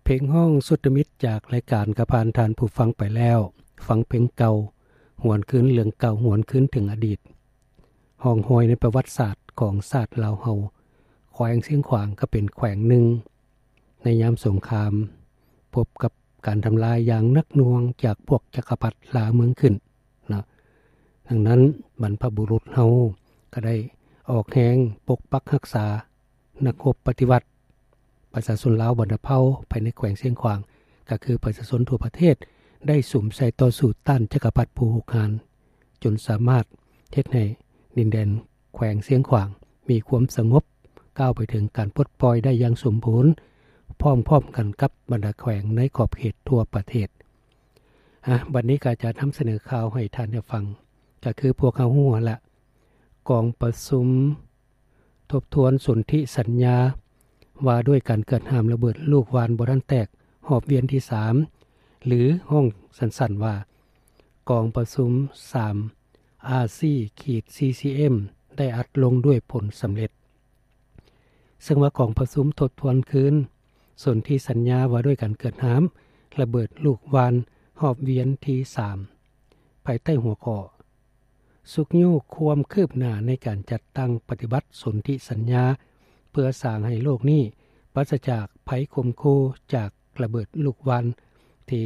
ເພງຮ້ອງສຸດຕະມິດຈາກລາຍການກະຜ່ານທ່ານຜູ້ຟັງໄປແລ້ວ. ຟັງເພງເກົ່າ, ຫວນຄືນເລື່ອງເກົ່າ, ຫວນຄືນເຖິງອະດີດ. ຮ່ອງຮອຍໃນປະຫວັດສາດຂອງຊາດລາວເຮົາ, ແຂວງຊຽງຂວາງກໍເປັນແຂວງໜຶ່ງໃນຍາມສົງຄາມ ພົບກັບການທຳລາຍຢ່າງໜັກໜ່ວງຈາກພວກຈັກກະພັດລ່າເມືອງຂຶ້ນເນາະ. ດັ່ງນັ້ນ ບັນພະບຸລຸດເຮົາກໍໄດ້ອອກແຮງປົກປັກຮັກສາ ນັກຮົບປະຕິວັດ, ປະຊາຊົນລາວບັນດາເຜົ່າພາຍໃນແຂວງຊຽງຂວາງ, ກໍຄືປະຊາຊົນທົ່ວປະເທດ ໄດ້ສຸມໃສ່ຕໍ່ສູ້ຕ້ານຈັກກະພັດຜູ້ຮຸກຮານ, ຈົນສາມາດເຮັດໃຫ້ດິນແດນແຂວງຊຽງຂວາງມີຄວາມສະຫງົບ, ກ້າວໄປເຖິງການປົດປ່ອຍໄດ້ຢ່າງສົມບູນ, ພ້ອມໆກັນກັບບັນດາແຂວງໃນຂອບເຂດທົ່ວປະເທດ. ອາ, ບັດນີ້ກໍຈະນຳສະເໜີຂ່າວໃຫ້ທ່ານໄດ້ຟັງ, ກໍຄືພວກເຮົາຮູ້ຫັ້ນລະ, ກອງປະຊຸມ ທົບທວນສົນທິສັນຍາວ່າດ້ວຍການເກີດຫ້າມລະເບີດລູກຫວ່ານບໍ່ທັນແຕກຮອບວຽນທີສາມ ຫຼື ຮ້ອງສັ້ນໆວ່າ ກອງປະຊຸມສາມ ອາຊີ ຂີດ ຊີຊີເອັມ ໄດ້ອັດລົງດ້ວຍຜົນສຳເລັດ. ເຊິ່ງວ່າກອງປະຊຸມທົບທວນຄືນສົນທິສັນຍາວ່າດ້ວຍການເກີດຫ້າມລະເບີດລູກຫວ່ານຮອບວຽນທີສາມ ພາຍໃຕ້ຫົວຂໍ້ ຊຸກຍູ້ຄວາມຄືບໜ້າໃນການຈັດຕັ້ງປະຕິບັດສົນທິສັນຍາ ເພື່ອສ້າງໃຫ້ໂລກນີ້ປາສະຈາກໄພຂົ່ມຂູ່ຈາກລະເບີດລູກຫວ່ານ ທີ່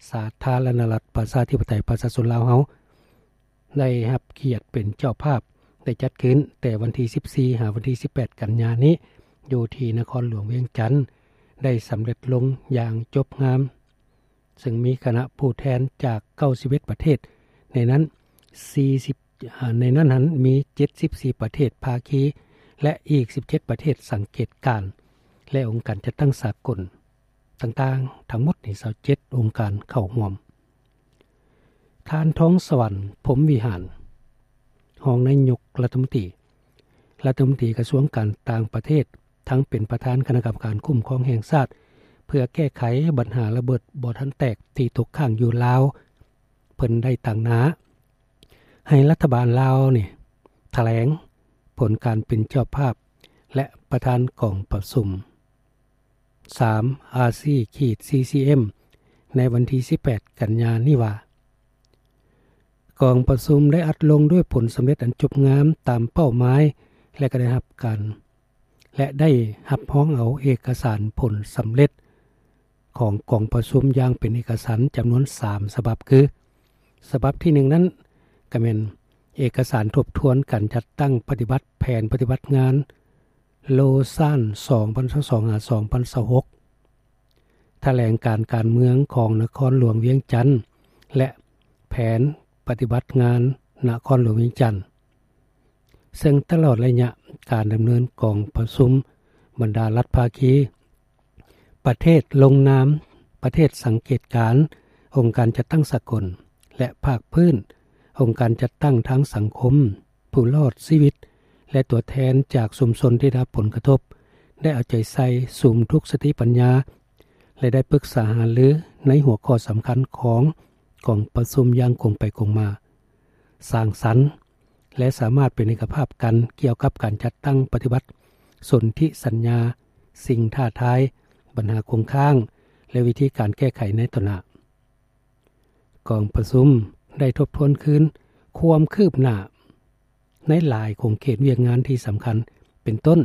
ສາທາລະນະລັດປະຊາທິປະໄຕປະຊາຊົນລາວເຮົາໄດ້ຮັບກຽດເປັນເຈົ້າພາບ ໄດ້ຈັດຂຶ້ນແຕ່ວັນທີສິບສີ່ ຫາວັນທີສິບແປດ ກັນຍານີ້ ຢູ່ທີ່ນະຄອນຫຼວງວຽງຈັນ ໄດ້ສຳເລັດລົງຢ່າງຈົບງາມ. ເຊິ່ງມີຄະນະຜູ້ແທນຈາກເກົ້າສິບເອັດປະເທດ, ໃນນັ້ນສີ່ສິບ ໃນນັ້ນຫັ້ນມີເຈັດສິບສີ່ປະເທດພາຄີ ແລະ ອີກສິບເຈັດປະເທດສັງເກດການ ແລະ ອົງການຈັດຕັ້ງສາກົນຕ່າງໆ ທັງໝົດນີ້ຊາວເຈັດອົງການເຂົ້າຮ່ວມ. ທ່ານ ທອງສະຫວັນ ພົມວິຫານ ຮອງນາຍົກລັດຖະມົນຕີ ລັດຖະມົນຕີກະຊວງການຕ່າງປະເທດ ທັງເປັນປະທານຄະນະກຳມະການຄຸ້ມຄອງແຫ່ງຊາດ ເພື່ອແກ້ໄຂບັນຫາລະເບີດບໍ່ທັນແຕກທີ່ຕົກຄ້າງຢູ່ລາວ ເພິ່ນໄດ້ຕາງໜ້າໃຫ້ລັດຖະບານລາວນີ້ຖະແຫຼງຜົນການເປັນເຈົ້າພາບ ແລະ ປະທານກອງປະຊຸມ ສາມ ອາຊີ ຂີດ ຊີຊີເອັມ ໃນວັນທີສິບແປດ ກັນຍານີ້ວ່າ ກອງປະຊຸມໄດ້ອັດລົງດ້ວຍຜົນສຳເລັດອັນຈົບງາມຕາມເປົ້າໝາຍ ແລະ ກໍໄດ້ຮັບການ ແລະ ໄດ້ຮັບຮອງເອົາເອກະສານຜົນສຳເລັດຂອງກອງປະຊຸມຢ່າງເປັນເອກະສານຈຳນວນສາມສະບັບ ຄື ສະບັບທີໜຶ່ງນັ້ນ ກໍແມ່ນເອກະສານທົບທວນການຈັດຕັ້ງປະຕິບັດແຜນປະຕິບັດງານ ໂລຊານ ສອງພັນຊາວສອງ ຫາ ສອງພັນຊາວຫົກ ຖະແຫຼງການການເມືອງຂອງນະຄອນຫຼວງວຽງຈັນ ແລະ ແຜນປະຕິບັດງານນະຄອນຫຼວງວຽງຈັນ ເຊິ່ງຕະຫຼອດໄລຍະການດຳເນີນກອງປະຊຸມ ບັນດາລັດພາຄີ ປະເທດລົງນາມ, ປະເທດສັງເກດການ, ອົງການຈັດຕັ້ງສາກົນ ແລະ ພາກພື້ນ, ອົງການຈັດຕັ້ງທາງສັງຄົມ, ຜູ້ລອດຊີວິດ ແລະ ຕົວແທນຈາກຊຸມຊົນທີ່ໄດ້ຮັບຜົນກະທົບ ໄດ້ເອົາໃຈໃສ່ສຸມທຸກສະຕິປັນຍາ ແລະ ໄດ້ປຶກສາຫາລືໃນຫົວຂໍ້ສຳຄັນຂອງກອງປະຊຸມຢ່າງກົງໄປກົງມາ, ສ້າງສັນ ແລະ ສາມາດເປັນເອກະພາບກັນກ່ຽວກັບການຈັດຕັ້ງປະຕິບັດສົນທິສັນຍາ, ສິ່ງທ້າທາຍ, ບັນຫາຄົງຄ້າງ ແລະ ວິທີການແກ້ໄຂໃນຕໍ່ໜ້າ. ກອງປະຊຸມໄດ້ທົບທວນຄືນຄວາມຄືບໜ້າໃນຫຼາຍຂົງເຂດວຽກງານທີ່ສຳຄັນ ເປັນຕົ້ນ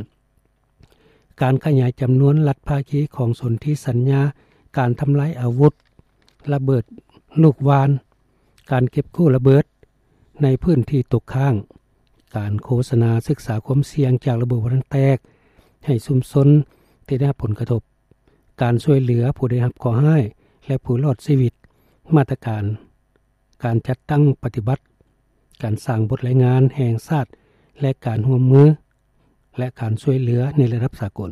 ການຂະຫຍາຍຈຳນວນລັດພາຄີຂອງສົນທິສັນຍາ, ການທຳລາຍອາວຸດ, ລະເບີດລູກຫວ່ານ, ການເກັບກູ້ລະເບີດໃນພື້ນທີ່ຕົກຄ້າງ, ການໂຄສະນາສຶກສາຄວາມສ່ຽງຈາກລະເບີດບໍ່ທັນແຕກໃຫ້ຊຸມຊົນທີ່ໄດ້ຮັບຜົນກະທົບ, ການຊ່ວຍເຫຼືອຜູ້ໄດ້ຮັບເຄາະຮ້າຍ ແລະ ຜູ້ລອດຊີວິດ, ມາດຕະການການຈັດຕັ້ງປະຕິບັດ, ການສ້າງບົດລາຍງານແຫ່ງຊາດ ແລະ ການຮ່ວມມື ແລະ ການຊ່ວຍເຫຼືອໃນລະດັບສາກົນ.